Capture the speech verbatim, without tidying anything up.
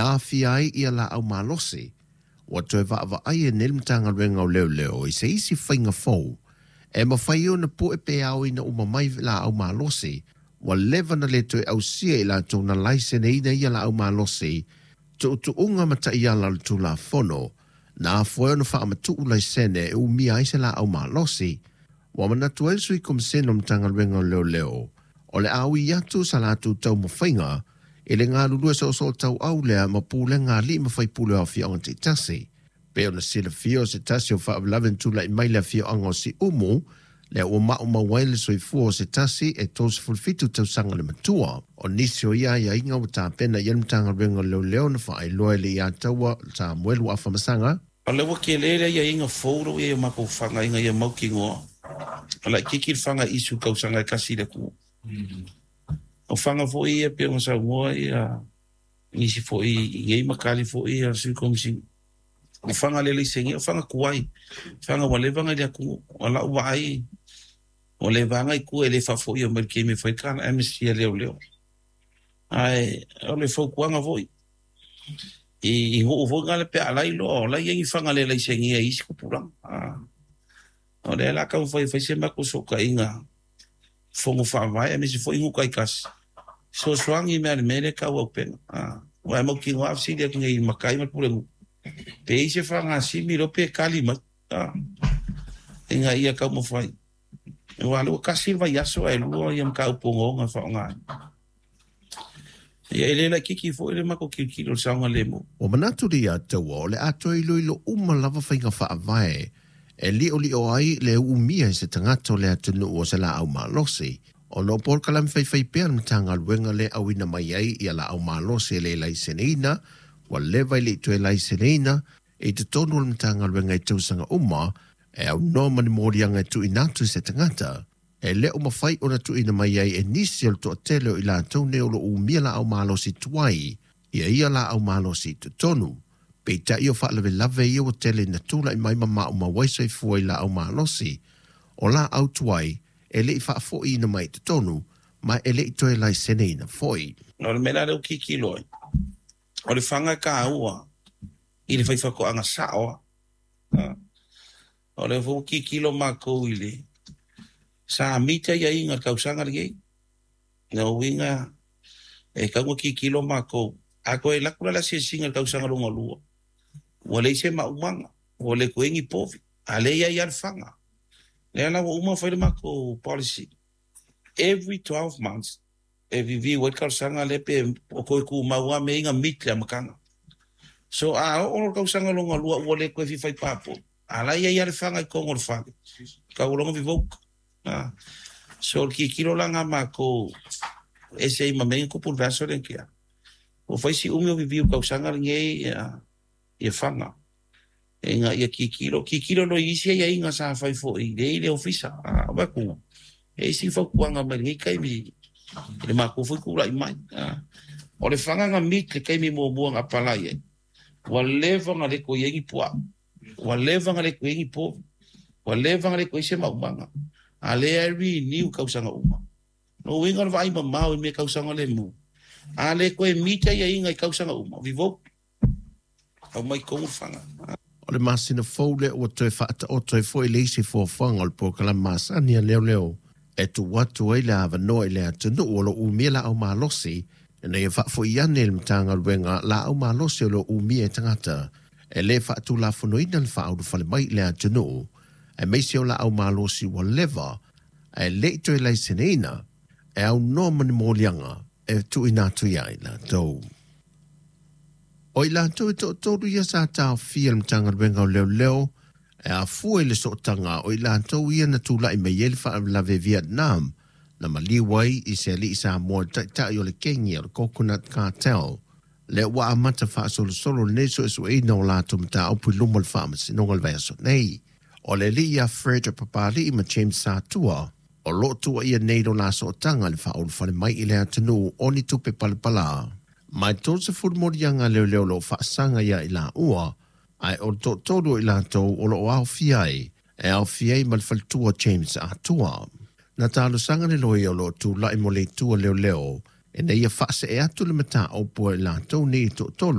aafia ai ia laau malosi. Ua toe vaavaai e nei le Matagaluega o Leoleo i se isi faiga fou e mafai ona pue pe aoina uma mai laau malosi ua leva na le toe ausia i latou na laiseneina ia laau malosi, tuutuuga ma taiala o le Tulafono na afua ai ona faamatuu laisene e umia ai se laau malosi. Ua manatu ai le Sui Komisena o le Matagaluega o Leoleo o le a ui atu sa latou taumafaiga i le galulue soosoo tauau lea ma pulega a alii ma faipule o afioaga taitasi. Pei ona silafia o se tasi o faalavelave na tulai mai le afioaga o Siumu lea ua maumau ai le soifua o se tasi e tolusefulu fitu tausaga le matua. O nisi o ia aiaiga ua tapena i ai le Matagaluega o Leoleo na faailoa e le ia taua Samuelu Afamasaga. O lea ua tele le aiaiga fou lea ua i ai o matou fana ina ia mautinoa o laitiiti le fana issue i tausaga e tasi i le atunuu. O fana foi ia pei ona saunoa ia nisi foi i nei matali foi ia Sui Komisina. O fana le laisenia, o fana tuai, fana ua leva ona i le atunuu. O lau vaai, ua leva ona i tua e le faafoia mai le taimi e fai le amnesty a leoleo. Ae o le fautuaga foi, i nuu foi na le pe a lailoa, o la e i ai ni fana le laisenia i isi tupulaga. O lea la taumafai e fai se matou sootaiga fono faavae aemaise foi nuu taitasi, fesoasoani mea le mea lea e tau auupega. Aua e mautinoa a fesili atu nei i le matai ma le pulenuu, pe i ai se fagasimi loa pe tali mai ina ia taumafai. Aua o lea ua tasi le vaiaso ae lua ia mataupu ogaoga e faaaoga ai. Ia e le laitiiti foi le matou tilotilo i le saogalemu. Ua manatu le ia taua o le a toe iloilo uma lava faiga faavae e liolio ai le umia e se tagata o le atunuu o se laau malosi, ona o polokalame faifai pea a le Matagaluega le auina mai ai ia laau malosi e le laiseneina, ua leva i le i toe laiseneina i totonu o le Matagaluega i tausaga uma e aunoa ma ni moliaga e tuuina atu i se tagata e le o mafai ona tuuina mai ai e nisi o le toatele o i latou nei o lo o umia laau malosi tuai ia ia laau malosi i totonu. Peitai o faalavelave ia ua tele ina tulai mai ma maumau ai soifua i laau malosi o laau tuai e le i faafoiina mai i totonu ma e le i toe laiseneina foi. O le mea la lea ua tilotilo ai, o le fana e taua i le faifaatoaga sao lava. O lea foi ua tilotilo matou i le sa mita aiaiga i le tausaga lenei. Lona uiga e tatau ona tilotilo matou. A toe alu atu la le asiasiga i le tausaga lona lua, ua leai se maumaga, ua le toe i ai ni povi, a lea e i ai lava le fana. Lea la ua uma ona fai le matou policy, every twelve months e review ai le talosaga lea pe o toe tumau lava mea ia na meet le amataga. So a oo loa le tausaga lona lua ua le toe fia fai papovi, a la e i ai lava le fana i totonu o le fale, tau loa ona revoke. So o le tilotilo la lena a matou e ese ai ma mea ia na tupu i le vaiaso lea na tea. Ua fai si umi o review i le tausaga lenei ia fana ina ia tilotilo, tilotilo loa i isi aiaiga sa fai foi i le ofisa. A avatu e isi fautuaga mai lenei taimi i le matou foi tulai mai. O le fana na meet le taimi muamua na apalai ai, ua leva ona le toe i ai ni puaa, ua leva ona le toe i ai ni povi, ua leva ona le toe i ai se maumaga, a lea e renew tausaga uma. Lona uiga o le vaai mamao i mea tausaga lemu, a le toe meet aiaiga i tausaga uma, revoke, aumai totonu le fana. O le masina fou lea ua toe faataoto ai foi le isi fuafuaga o le polokalame masani a leoleo e tuu atu ai le avanoa i le atunuu o lo o umia laau malosi ina ia faafoi ane i le Matagaluega laau malosi o lo o umia e tagata e le faatulafonoina le faaulufale mai i le atunuu, aemaise o laau malosi ua leva ae le i toe laiseneina e aunoa ma ni moliaga e tuuina atu ia i latou. O i latou e toatolu ia sa taofia e le Matagaluega o Leoleo e afua i le sootaga o i latou ia na tulai mai ai le faalavelave Vietnam na maliu ai i se alii Samoa le taitai o le kengi o le Coconut Cartel. Lea ua amata faasolosolo lenei suesueina o latou mataupu i luma o le Faamasinoga o le vaiaso nei. O le alii ia Fred Papali'i ma James Satua o lo o tuuaia nei lo la sootaga i le faaulufale mai i le atunuu o ni tupe palapala. Mai tolusefulu moliaga leoleo o lo o faasaga ia i laua, ae o le toatolu o i latou o lo o aofia ai, e aofia ai ma le faletua James Atua. Na talosaga le loia o lo o tulai mo le itu a leoleo ina ia faasee atu le mataupu a i latou nei e toatolu.